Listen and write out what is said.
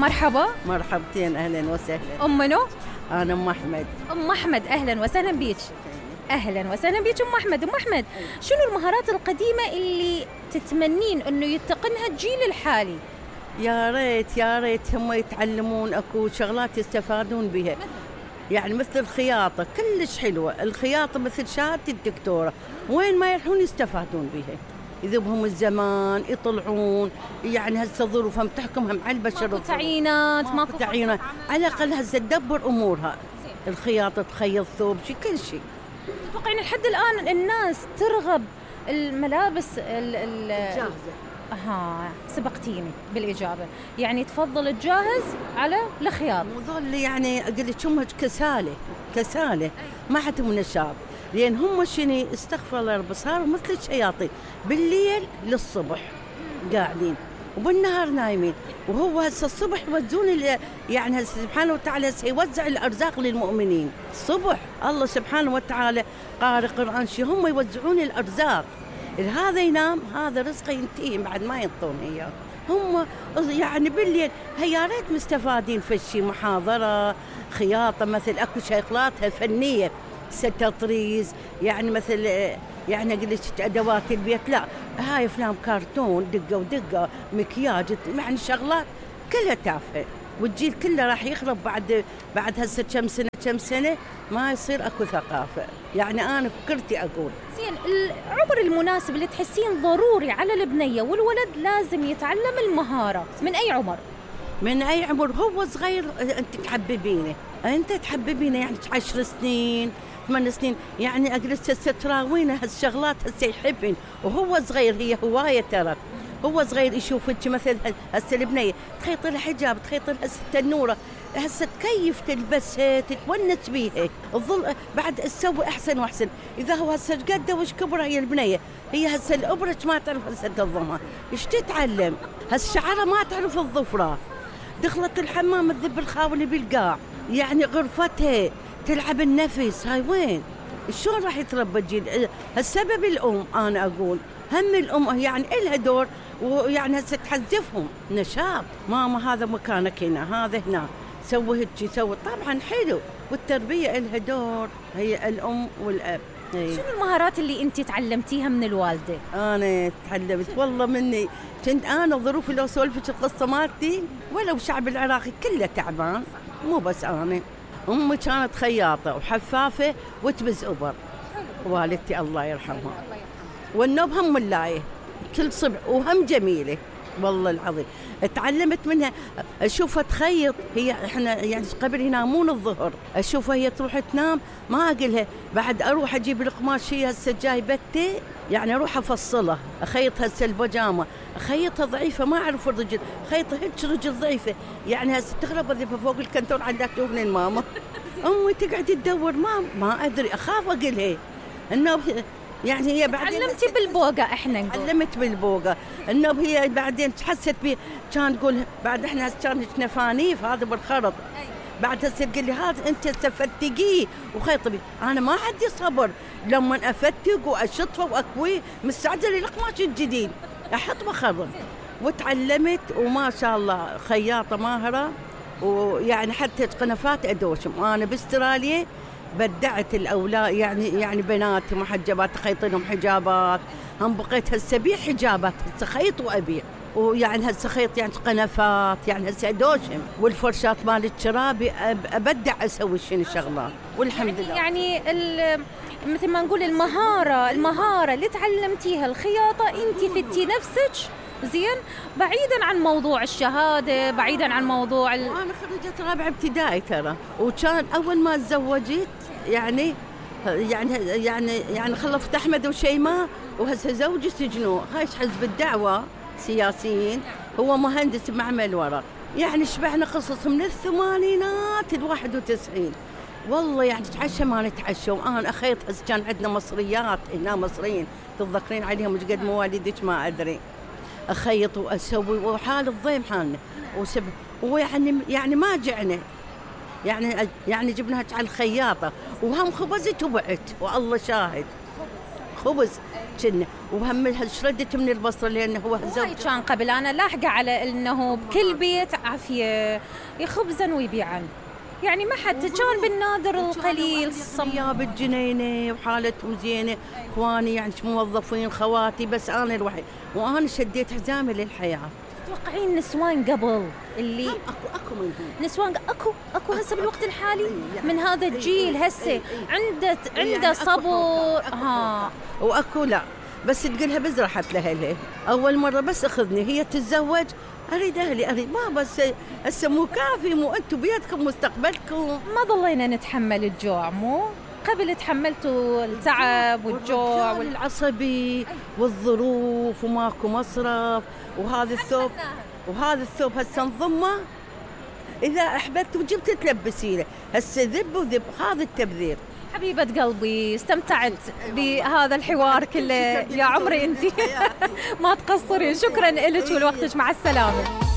مرحبا. مرحبتين، أهلا وسهلا. أم منو؟ أنا أم أحمد. أم أحمد، أهلا وسهلا بيك. أهلا وسهلا بيك أم أحمد. أم أحمد، شنو المهارات القديمة اللي تتمنين أنه يتقنها الجيل الحالي؟ يا ريت يا ريت هم يتعلمون أكو شغلات يستفادون بها، يعني مثل الخياطة كلش حلوة، الخياطة مثل شهادة الدكتورة، وين ما يروحون يستفادون بها، يذوبهم الزمان يطلعون، يعني هسه ظروفهم تحكمهم على البشر، ماكو تعيينات، ماكو تعيينات، على الأقل هسه تدبر أمورها، الخياطة تخيط ثوب شي كل شيء. تتوقعين لحد الآن الناس ترغب الملابس الجاهزة؟ سبقتيني بالإجابة، يعني تفضل الجاهز على الخياط. وظل يعني قلت هم كسالة ما عندهم نشاط، لأن هم شنو استغفر الله رب صاروا مثل الشياطين، بالليل للصبح قاعدين وبالنهار نايمين، وهو هسه الصبح يوزعون يعني هسه سبحانه وتعالى سيوزع الأرزاق للمؤمنين الصبح، الله سبحانه وتعالى قارئ قرآن شي هم يوزعون الأرزاق، هذا ينام هذا رزقه ينتهي بعد ما ينطون اياه، هم يعني بالليل يا ريت مستفادين في شيء، محاضرة خياطة مثل اكو شغلاتها فنية، ستطريز يعني مثل يعني قلت ادوات البيت، لا هاي افلام كرتون دقة ودقة مكياج، يعني شغلات كلها تافهة، والجيل كله راح يخرب بعد هسه كم سنة ما يصير اكو ثقافة، يعني انا فكرتي اقول زين. العمر المناسب اللي تحسين ضروري على البنية والولد لازم يتعلم المهارة من اي عمر؟ من اي عمر؟ هو صغير انت تحببينه يعني 10 سنين 8 سنين، يعني اجلس هسه تراوينه هالشغلات هسه يحبين وهو صغير، هي هواية ترى، هو صغير يشوفك مثل هسه البنية تخيط لها حجاب، تخيط لها التنورة، هسه تكيف تلبسها تتونس بيها، الظل بعد تسوي احسن واحسن، اذا هو هسه قد وش كبر هي البنية، هي هسه الابرة ما تعرف هسه تنظمها، ايش تتعلم؟ هسه شعرها ما تعرف الظفرة، دخلت الحمام تذب الخاولي بالقاع، يعني غرفتها تلعب النفس، هاي وين؟ شلون راح يتربى الجيل؟ السبب الام، انا اقول هم الام يعني إلها دور، ويعني هسه تحذفهم نشاط، ماما هذا مكانك هنا، هذا هنا، سوي هيك سوي، طبعا حلو، والتربية إلها دور، هي الام والاب. شنو المهارات اللي انت تعلمتيها من الوالدة؟ انا تعلمت والله مني، كنت انا ظروفي لو سولفك القصة مالتي ولو الشعب العراقي كله تعبان، مو بس انا، امي كانت خياطة وحفافة وتبز ابر، والدتي الله يرحمها، والنوب هم ملاية كل صبح وهم جميلة والله العظيم، تعلمت منها، اشوفها تخيط، هي احنا يعني قبل ينامون الظهر، اشوفها هي تروح تنام ما اقلها، بعد اروح اجيب القماش، هي هسه جايبته يعني اروح افصلها، اخيط هسه البيجامه، اخيطها ضعيفه ما اعرف الرجل، خيطها هيك رجل ضعيفه، يعني هسه تغرب اذا فوق الكنتور عندك شوفني الماما، امي تقعد تدور ما ادري، اخاف اقلها انه يعني هي بعدين علمتي بالبوقة، احنا نقول علمت بالبوقة، انه هي بعدين حست بي، كان تقول بعد احنا كانت نفانيف هذا بالخرط، بعد هسه تقول لي هذا انت تفتقيه وخيطي، انا ما عندي صبر لما افتق واشطفه واكويه، مستعجله للقماش الجديد احط بخرط، وتعلمت وما شاء الله خياطه ماهره، ويعني حتى قنفات ادوشم، انا باستراليا بدعت الاولاد يعني بناتي محجبات خيط لهم حجابات، هم بقيت هسه ابيع حجابات، هسه خيط وابيع، ويعني هسه خيط يعني قنفات، يعني هسه ادوشم، والفرشات مال الشرابي ابدع اسوي شنو شغلات، والحمد لله. يعني مثل ما نقول المهارة اللي تعلمتيها الخياطة، انت فتي نفسك زين بعيدا عن موضوع الشهادة، بعيدا عن موضوع أنا خريجة رابعة ابتدائي ترى، وكان أول ما تزوجت يعني خلفت أحمد وشيماء، وهسه زوجي سجنوه، هاي حزب الدعوة سياسيين، هو مهندس بمعمل ورق، يعني شبعنا قصص من الثمانينات ال91، والله يعني نتعشى ما نتعشى، وأنا أخيط هسه كان عندنا مصريات هنا، مصريين تتذكرين عليهم مش قد مواليدك ما أدري، أخيط وأسوي، وحال الضيم حالنا ويعني ما جعنا، يعني جبناها على الخياطة، وهم خبزت وبعت، والله شاهد خبز كنا وهم شردت من البصره لانه هو هاي كان قبل. انا لاحقه على انه بكل بيت عافيه خبزا ويبيعن، يعني ما حد كان بالنادر القليل صياب الجنينه وحالتهم زينه، اخواني يعني موظفين، خواتي، بس انا الوحيد، وانا شديت حزامي للحياه. تتوقعين نسوان قبل اللي اكو منهم نسوان اكو هسه بالوقت الحالي من هذا الجيل هسه عنده صبر ها، واكو لا بس تقولها بزرحت لها اول مره بس اخذني هي تتزوج اريد اهلي اريد ما بس هسه مو كافي، مو انتم بيدكم مستقبلكم. ما ظلينا نتحمل الجوع، مو قبل تحملتوا التعب والجوع والعصبي والظروف وماكو مصرف، وهذا الثوب هسه نضمه اذا احببت وجبت تلبسينه، هسه ذب وذب، هذا التبذير. حبيبة قلبي استمتعت بهذا الحوار كله يا عمري انت ما تقصرين، شكرا لك ولوقتك، مع السلامة.